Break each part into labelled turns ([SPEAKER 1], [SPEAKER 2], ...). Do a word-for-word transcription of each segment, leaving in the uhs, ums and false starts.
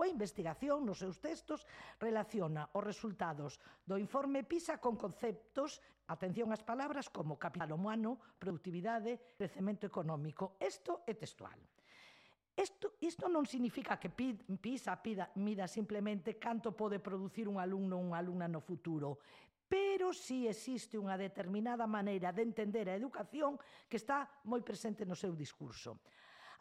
[SPEAKER 1] súa investigación, nos seus textos, relaciona os resultados do informe PISA con conceptos, atención ás palabras, como capital humano, productividade, crecemento económico. Isto é textual. Isto, isto non significa que PISA pida, mida simplemente canto pode producir un alumno ou unha alumna no futuro, pero si existe unha determinada maneira de entender a educación que está moi presente no seu discurso.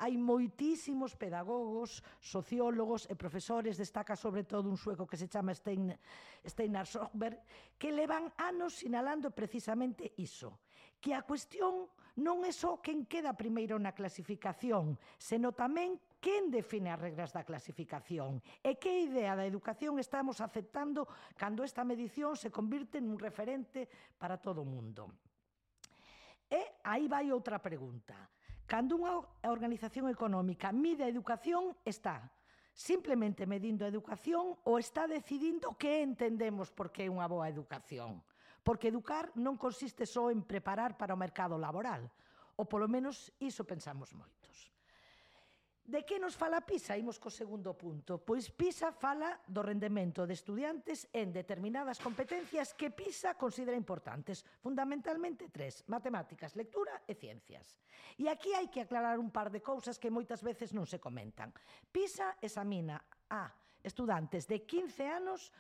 [SPEAKER 1] Hai moitísimos pedagogos, sociólogos e profesores, destaca sobre todo un sueco que se chama Stein, Steinar Sjöberg, que levan anos sinalando precisamente iso, que a cuestión non é só quen queda primeiro na clasificación, senón tamén quen define as regras da clasificación e que idea da educación estamos aceptando cando esta medición se convirte nun referente para todo o mundo. E aí vai outra pregunta. Cando unha organización económica mide a educación, está simplemente medindo a educación ou está decidindo que entendemos por que é unha boa educación? Porque educar non consiste só en preparar para o mercado laboral, ou polo menos iso pensamos moitos. De que nos fala PISA? Imos co segundo punto. Pois PISA fala do rendemento de estudiantes en determinadas competencias que PISA considera importantes, fundamentalmente tres: matemáticas, lectura e ciencias. E aquí hai que aclarar un par de cousas que moitas veces non se comentan. PISA examina a estudantes de quince anos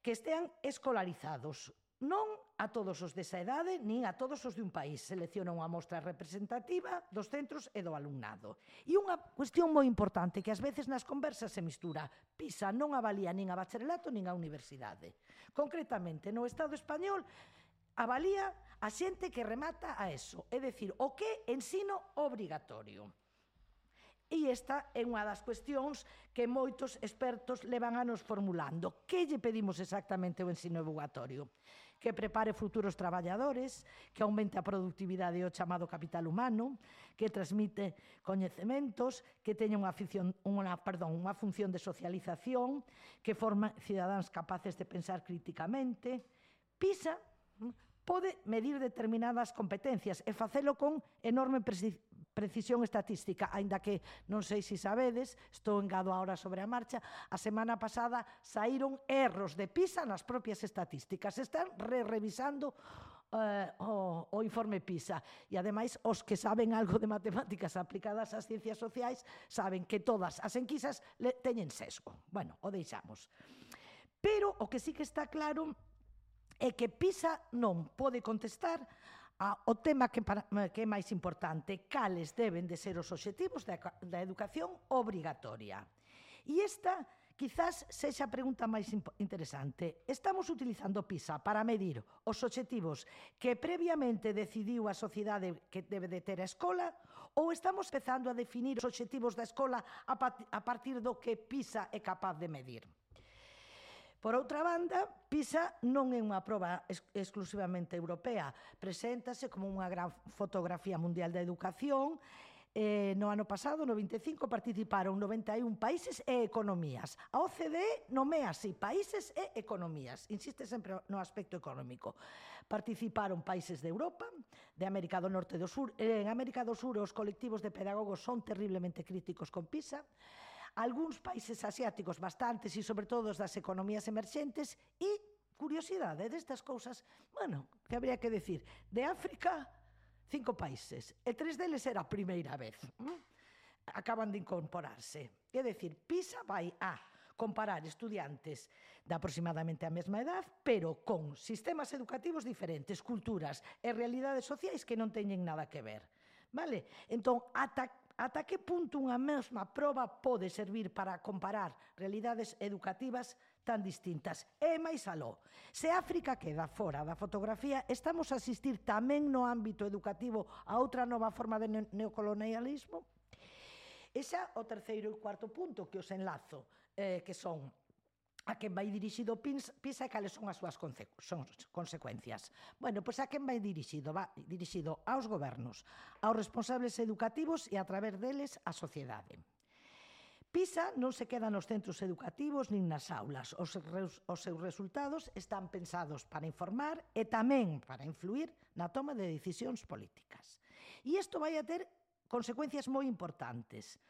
[SPEAKER 1] que estean escolarizados, non a todos os desa idade, nin a todos os de un país. Selecciona unha mostra representativa dos centros e do alumnado. E unha cuestión moi importante que ás veces nas conversas se mistura. PISA non avalía nin a bacharelato nin a universidade. Concretamente, no Estado español, avalía a xente que remata a eso, é dicir, o que é ensino obrigatorio. E esta é unha das cuestións que moitos expertos levan anos formulando. Que lle pedimos exactamente ao ensino obrigatorio? Que prepare futuros traballadores, que aumente a productividade e o chamado capital humano, que transmite coñecementos, que teña unha, afición, unha, perdón, unha función de socialización, que forma cidadáns capaces de pensar críticamente. PISA pode medir determinadas competencias e facelo con enorme precisión estatística, aínda que non sei se sabedes, estou engado agora sobre a marcha, a semana pasada saíron erros de PISA nas propias estatísticas, están re-revisando uh, o, o informe PISA e ademais os que saben algo de matemáticas aplicadas ás ciencias sociais saben que todas as enquisas le, teñen sesgo. Bueno, o deixamos. Pero o que sí que está claro é que PISA non pode contestar ao tema que, para, que é máis importante, cales deben de ser os obxectivos da, da educación obrigatoria. E esta, quizás, sexa a pregunta máis interesante. Estamos utilizando PISA para medir os obxectivos que previamente decidiu a sociedade que debe de ter a escola ou estamos empezando a definir os obxectivos da escola a partir do que PISA é capaz de medir? Por outra banda, PISA non é unha proba ex exclusivamente europea. Preséntase como unha gran fotografía mundial da educación. Eh, no ano pasado, no vinte e cinco, participaron noventa e un países e economías. A O C D E nomea así, países e economías. Insiste sempre no aspecto económico. Participaron países de Europa, de América do Norte e do Sur. En América do Sur, os colectivos de pedagogos son terriblemente críticos con PISA. Algúns países asiáticos, bastantes, e sobre todo das economías emerxentes, e, curiosidade destas cousas, bueno, que habría que decir, de África, cinco países, e tres deles era a primeira vez. Acaban de incorporarse. É dicir, PISA vai a comparar estudiantes de aproximadamente a mesma edad, pero con sistemas educativos diferentes, culturas e realidades sociais que non teñen nada que ver. Vale? Entón, ata Ata que punto unha mesma proba pode servir para comparar realidades educativas tan distintas? E máis aló, se África queda fora da fotografía, estamos a asistir tamén no ámbito educativo a outra nova forma de neocolonialismo? Ese é o terceiro e cuarto punto que os enlazo, eh, que son a quen vai dirixido PISA e cales son as súas consecuencias. Bueno, pois a quen vai dirixido? Va dirixido aos gobernos, aos responsables educativos e a través deles á sociedade. PISA non se queda nos centros educativos nin nas aulas. Os, os seus resultados están pensados para informar e tamén para influir na toma de decisións políticas. E isto vai a ter consecuencias moi importantes,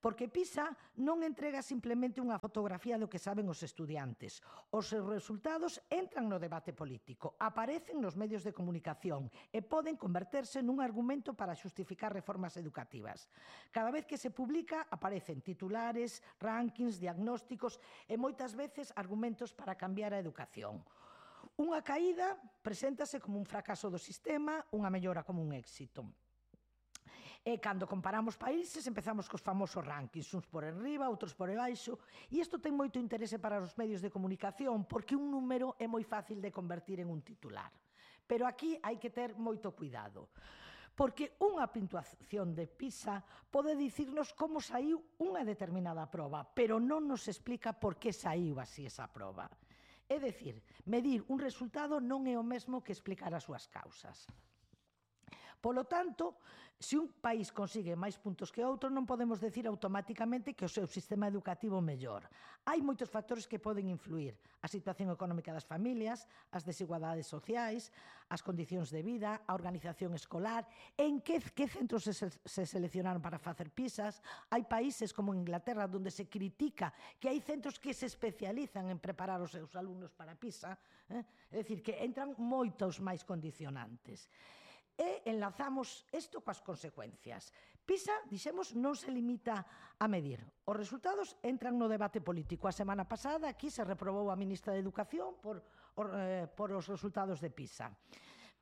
[SPEAKER 1] Porque PISA non entrega simplemente unha fotografía do que saben os estudiantes. Os resultados entran no debate político, aparecen nos medios de comunicación e poden converterse nun argumento para xustificar reformas educativas. Cada vez que se publica, aparecen titulares, rankings, diagnósticos e moitas veces argumentos para cambiar a educación. Unha caída preséntase como un fracaso do sistema, unha mellora como un éxito. E cando comparamos países empezamos cos famosos rankings, uns por enriba, outros por debaixo, e isto ten moito interese para os medios de comunicación porque un número é moi fácil de convertir en un titular. Pero aquí hai que ter moito cuidado, porque unha puntuación de PISA pode dicirnos como saiu unha determinada proba, pero non nos explica por que saiu así esa proba. É dicir, medir un resultado non é o mesmo que explicar as súas causas. Polo tanto, se un país consigue máis puntos que outro, non podemos decir automáticamente que o seu sistema educativo mellor. Hai moitos factores que poden influir: a situación económica das familias, as desigualdades sociais, as condicións de vida, a organización escolar, en que, que centros se, se seleccionaron para facer PISAs. Hai países como Inglaterra onde se critica que hai centros que se especializan en preparar os seus alumnos para PISA, eh? É dicir, que entran moitos máis condicionantes. E enlazamos isto coas consecuencias. PISA, dixemos, non se limita a medir. Os resultados entran no debate político. A semana pasada aquí se reprobou a ministra de Educación por, eh, por os resultados de PISA.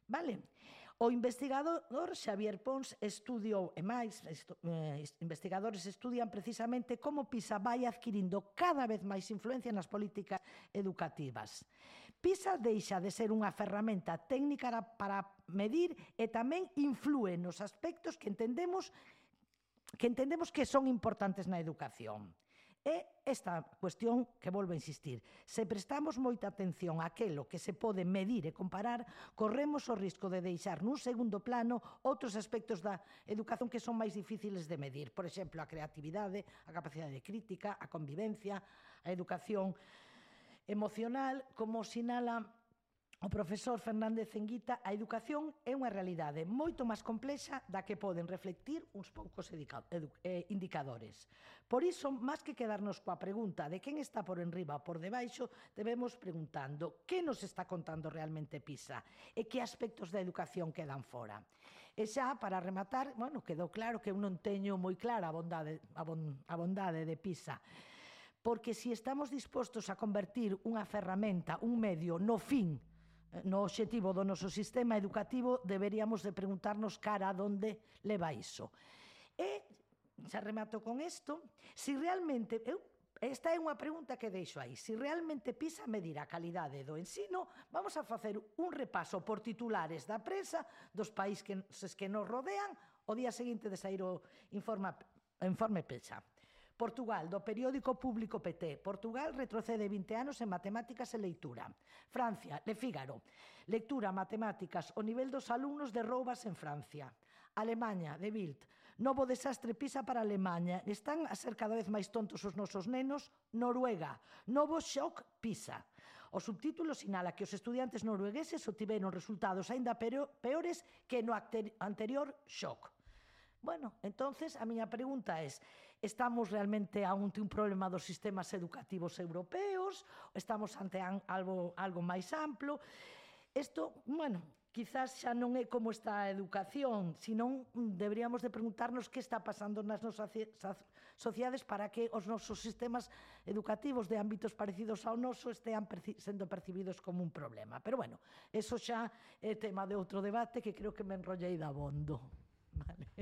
[SPEAKER 1] Vale? O investigador Xavier Pons estudiou, e máis, estu, eh, investigadores estudian precisamente como PISA vai adquirindo cada vez máis influencia nas políticas educativas. PISA deixa de ser unha ferramenta técnica para medir e tamén inflúe nos aspectos que entendemos que entendemos que son importantes na educación. É esta cuestión que volvo a insistir. Se prestamos moita atención a aquilo que se pode medir e comparar, corremos o risco de deixar nun segundo plano outros aspectos da educación que son máis difíciles de medir. Por exemplo, a creatividade, a capacidade de crítica, a convivencia, a educación emocional, como sinala o profesor Fernández Enguita, a educación é unha realidade moito máis complexa da que poden reflectir uns poucos indicadores. Por iso, máis que quedarnos coa pregunta de quen está por enriba ou por debaixo, debemos preguntando que nos está contando realmente PISA e que aspectos da educación quedan fora. E xa, para rematar, bueno, quedou claro que eu non teño moi clara a bondade, a bon, a bondade de PISA, porque se estamos dispostos a convertir unha ferramenta, un medio, no fin, no obxectivo do noso sistema educativo, deberíamos de preguntarnos cara a onde leva iso. E, xa remato con isto, se realmente, eu, esta é unha pregunta que deixo aí, se realmente PISA medir a calidade do ensino, vamos a facer un repaso por titulares da prensa dos países que nos rodean o día seguinte de sair o informe, informe PISA. Portugal, do periódico público P T. Portugal retrocede vinte anos en matemáticas e leitura. Francia, Le Figaro. Lectura, matemáticas, o nivel dos alumnos derroubas en Francia. Alemanha, de Bild. Novo desastre PISA para Alemanha. Están a ser cada vez máis tontos os nosos nenos. Noruega. Novo shock PISA. O subtítulo sinala que os estudiantes noruegueses obtiveron resultados aínda peores que no anterior shock. Bueno, entonces a miña pregunta é: estamos realmente ante un problema dos sistemas educativos europeos? Estamos ante algo, algo máis amplo? Isto, bueno, quizás xa non é como está a educación, senón deberíamos de preguntarnos que está pasando nas nosas sociedades para que os nosos sistemas educativos de ámbitos parecidos ao noso estean perci sendo percibidos como un problema. Pero bueno, eso xa é tema de outro debate que creo que me enrollei dabondo. Vale.